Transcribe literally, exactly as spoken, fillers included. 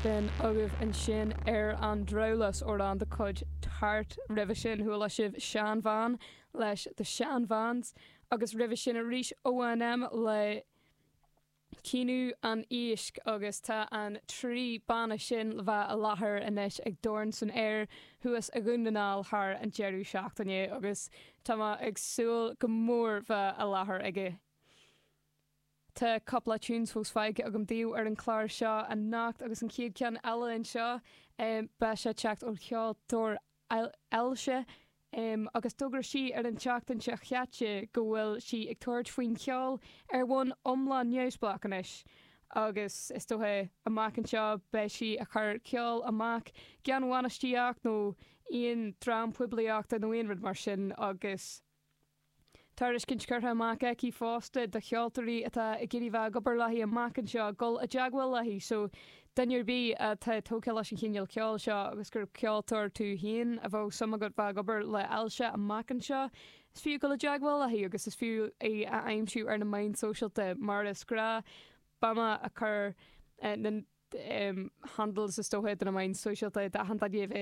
B'in agaibh ansin ar an drabhlás amhrán de chuid Tart roimhe sin chuala sibh Seanbhean leis The Shan Vans agus roimhe sin arís ONM le Caoineadh an Éisc agus tá an trí banna sin le bheith i láthair anois ag Dorn san Aer thuas i nDún na nGall thar an deireadh seachtaine agus tá ag súil go mór bheith i láthair aige. Tá cúpla tunes fós fágtha agam daoibh ar an chlár seo anocht agus an chéad cheann eile anseo um, beidh sé teacht ó cheoltóir Eilse um, agus d'fhógair sí ar an tseachtain seo chaite go bhfuil sí ag tabhairt faoin cheol ar bhonn iomlán neamhspleách anois. agus is dócha amach anseo beidh sí ag cur ceol amach gan bhainistíocht nó aon dream poiblíochta nó aon rud mar sin agus Tairiscint curtha amach aici fosta do cheoltóirí atá ag iarraidh bheith ag obair léi amach anseo dul i dteagmháil léi so duine ar bith atá tógtha leis an chineál ceoil seo agus gur ceoltóir tú féin a bheadh suim agat bheith ag obair le Eilse amach anseo. Is fiú dul i dteagmháil léi agus is fiú é a aimsiú ar na meáin sóisialta mar is gnách beidh mé ag cur uh, na um, handles is dócha de na meáin sóisialta d'achan duine a bheas